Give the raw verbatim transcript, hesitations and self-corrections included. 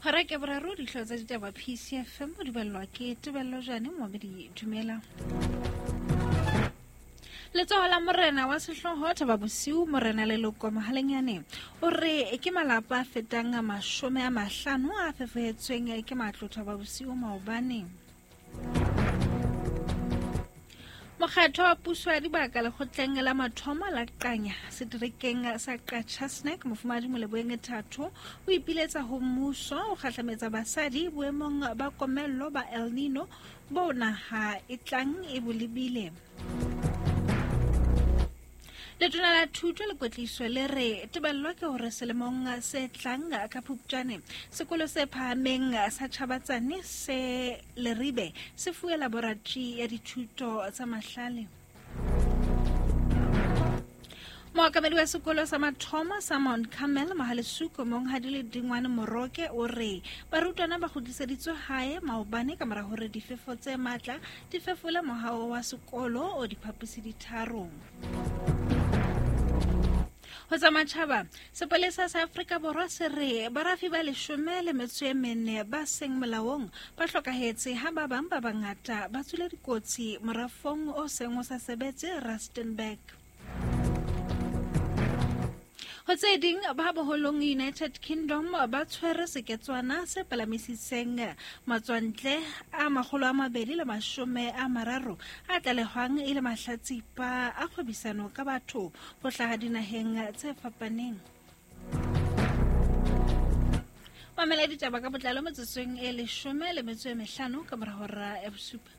Hora ke boraro dihlooho tsa ditaba P C F M di ballwa ke Tebello Jane Momedi Dumela. Letsoho la morena wa sehlooho Thaba Bosiu morena Leloko Mohalenyane o re ke malapa a fetang a mashome a mahlano a fefohetsweng ke matlo Thaba Bosiu maobane. Mokgatlo wa puso ya dibaka lekgotleng la mathomo la Qanya seterekeng sa Qachatsnek mofumahadi Moleboeng Thato o ipiletsa ho mmuso o kgahlametsa basadi boemong ba komello ba El Nino bo naha e tlang e bo lebile. Letona la thuto le kwetliso le re tebello ke hore selemong se tlang ka Phupjane sekolo se phahameng sa Chabatsane se Leribe se fuwe laboratory ya dithuto tsa mahlale. Mookamedi wa sekolo sa mathomo sa Mount Carmel Mohalesuko monghadi le Dingwane Moroke o re barutwana ba kgutliseditswe hae maobane ka mora hore difefo tse matla di fefole mohaho wa sekolo o diphaposi di tharo. Ho tsa matjhaba, sepolesa sa Afrika Borwa se re barafi ba leshome le metso e mene ba seng molaong ba hlokahetse ha ba bang ba bangata ba tswile dikotsi morafong o seng o sa sebetse Rustenburg. Ho tse ding, ba boholong United Kingdom ba tshwere seketswana se palamisitseng matswantle a makgolo a mabedi le mashome a mararo a tlalehwang e le mahlatsipa a kgwebisano ka batho ho hlaha dinaheng tse fapaneng. Mamela ditaba ka botlalo metsotsong e leshome le metso e mehlano ka mora hora ya bosupa.